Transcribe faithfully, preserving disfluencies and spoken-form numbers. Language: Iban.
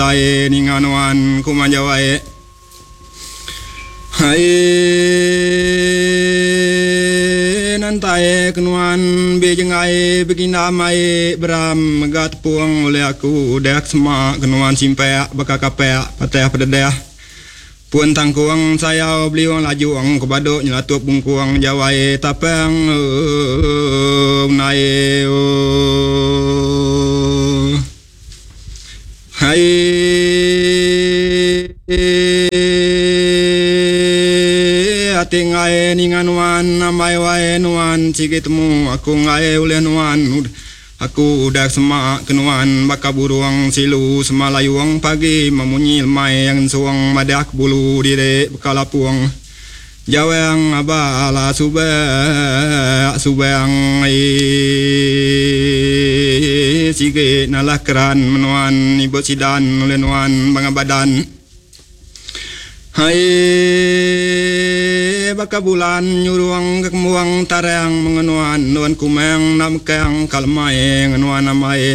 Ai ninga nuan ku manjawai. Hai nantai kenuan bijengai beginda mai beram mega tepung oleh aku udah semak kenuan simpek baka kapek patah pededeh. Pun tangkuang sayau beliung lajuang kebaduk nyelatup bungkuang jawai tapang nai. Hai ati ngai ninga nuan ambai wai nuan sigi temu aku ngai ulih nuan aku udah semak ke nuan baka burung silu semalayung pagi memunyi lemai yang suang madah bulu diri bekalapung jawang abala subak subang sigi nalah keran menuan ibu sidan oleh nuan bangabadan. Hai baka bulan nyuruang ke kemuang tarang mengenuan nuan kumang namkang kalmai ngenuan amai